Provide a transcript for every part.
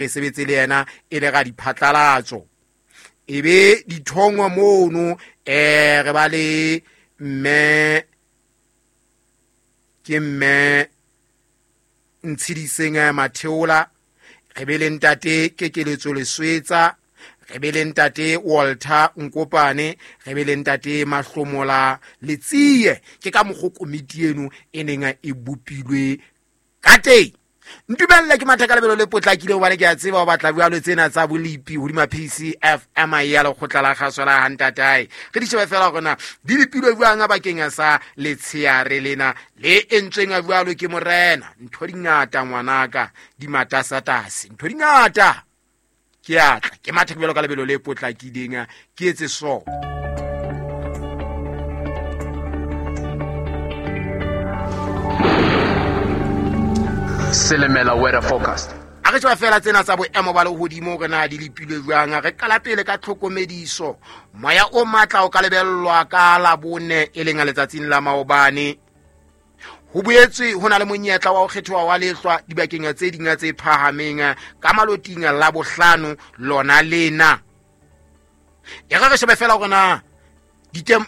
Re sebetse le yena e le ga diphatlalatso. E be dithongwa mono re ba le mme ke mme Ntshidiseng Matheola, re be le ntate Kekeletso Leswetsa, re be le ntate Walter Nkopane, re be le ntate Mahlomola Letsie. Ke ka mokgo komiti eno e neng e bopilwe ka teng. Ntumelle ke matha ka lebelo le potlakile hobane ke a tseba o batla jwalo tsena tsa bolepi hodima PCFM ya lekgotla la kgaso la hantatae. Re di shebe fela hore na di lepilwe jwang bakeng sa letsheare lena le entsweng jwalo ke morena. Ntho di ngata ngwanaka, di matasatase, ntho di ngata. Ke atla ke matha jwalo ka lebelo le potlakileng, ke etse so. Selemela weather forecast. A re tswa fela tsena tsa boemo ba lehodimo re na di lepilwe jwang. Re qala pele ka tlhokomediso. Moya o matla o ka lebellwa ka Labone e leng letsatsing la maobane. Ho boetswe ho na le monyetla wa ho kgethoha wa lehlwa dibakeng tse ding tse phahameng ka maloting la bohlano lona lena. E re re shebe fela hore na ditem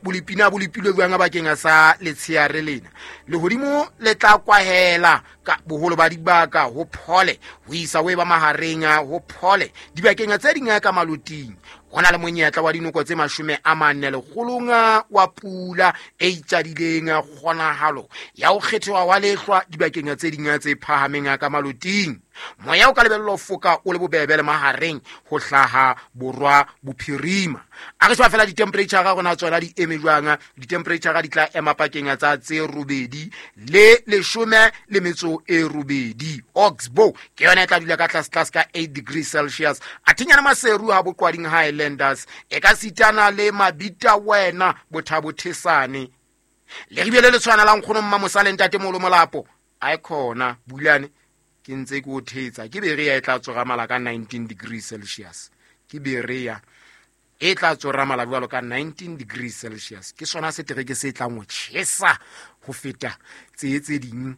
bolepina bo lepilwe jwang bakeng sa letsheare lena. Lehodimo le tla kwahela ka boholo ba dibaka ho phole ho isa ho e ba mahareng ho phole dibakeng tse ding ka maloting. Ho na le monyetla wa dinoko tse 40 lekgolong wa pula e itjadileng, kgonahalo ya ho kgethoha wa lehlwa dibakeng tse ding tse phahameng ka maloting. Moya o ka lebellwa ho foka o le bobebe le mahareng ho hlaha borwa bophirima. A re sheba fela di-temperature ga rona tsona di eme jwang. Di-temperature di tla ema pakeng tsa tse 8 le 18. Oxbow ke yona e tla dula ka tlase tlase ka 8 degrees Celsius. A thinyana Maseru ha boqwading Highlanders e ka sitana le Mabita wena Bothabothesane. Le ribele le tshwana la nkgono mma Mosale ntate Molo Molapo. A e khona bulane ke ntse ke o thetsa. Ke berea e tla tsoramala ka 19 degrees Celsius. Ke berea e tla tsoramala jwalo ka 19 degrees Celsius. Ke sona setereke se tlang ho tjhesa ho feta tse tse ding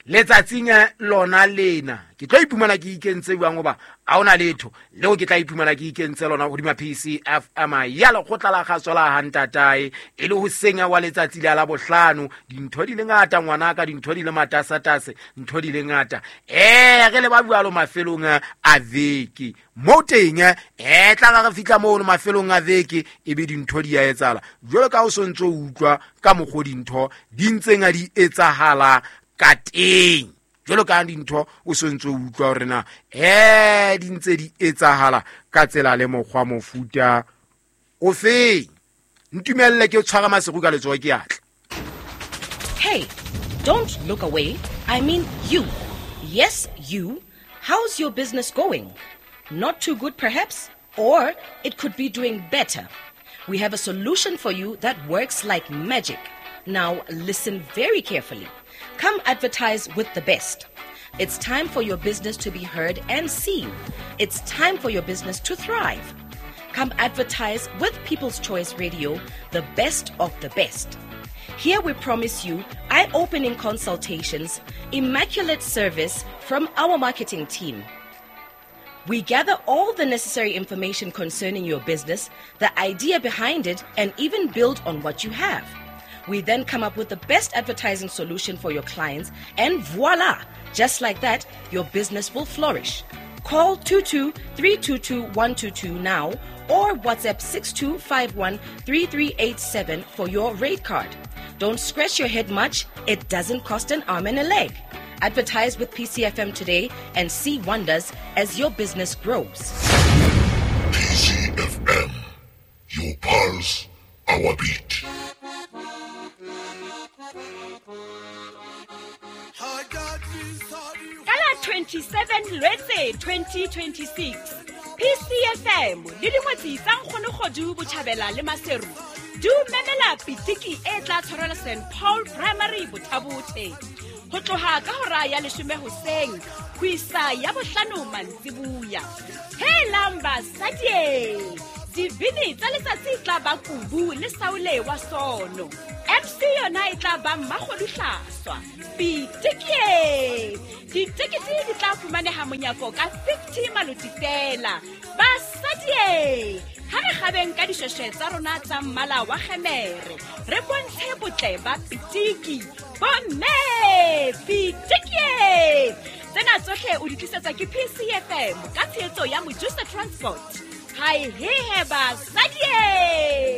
letsatsing lona lena. Ke tlo iphumana ke ikentse jwang hoba ha hona letho leo ke tla iphumana ke ikentse lona hodima PCFM ya lekgotla la kgaso la hantatae e le ho senya wa letsatsi la Labohlano. Dintho di le ngata ngwanaka, dintho di le matasatase, ntho di le ngata. Re le ba jwalo mafelong a veke mo teng, tla ra re fihla mono mafelong a veke e be dintho di a etsahala jwalo ka o sontso o utlwa ka mokgo dintho di ntseng a di etsahala ka teng. Jwalo ka dintho o sontso o utlwa hore na di ntse di etsahala ka tsela le mokgwa mofuta o feng. Ntumelle ke tshwara maseru ka letsoho ke atla. Hey, don't look away. I mean you. Yes, you. How's your business going? Not too good perhaps, or it could be doing better. We have a solution for you that works like magic. Now listen very carefully. Come advertise with the best. It's time for your business to be heard and seen. It's time for your business to thrive. Come advertise with People's Choice Radio, the best of the best. Here we promise you eye-opening consultations, immaculate service from our marketing team. We gather all the necessary information concerning your business, the idea behind it, and even build on what you have. We then come up with the best advertising solution for your clients, and voila! Just like that, your business will flourish. Call 22-322-122 now or WhatsApp 6251-3387 for your rate card. Don't scratch your head much. It doesn't cost an arm and a leg. Advertise with PCFM today and see wonders as your business grows. PCFM, your pulse, our beat. Ka la 27 Lwetse 2026, PCFM le dingwetsi tsa Nkgonogodu Botjhabela le Maseru di o memela pitiki e tla tshwarelwa St Paul Primary Bothabothe ho tloha ka hora ya 10 hoseng ho isa ya 5 mantsibuya. Helang basadi, dibini tsa letsatsi tla ba Kubu le Saule wa Sono. MC MC yona e tla ba Mmakgoduhlaswa. Pitikie! Ditekete di tla fumaneha monyako ka 50 maloti fela. Basadie! Ha re kgabeng ka dishweshwe tsa rona tsa mmala wa kgemere, re bontshe botle ba pitiki. Bomme! Pitikie! Tsena tsohle o di tlisetswa ke PCFM ka tshehetso ya Mojusa Transport. Hai hehe basadie!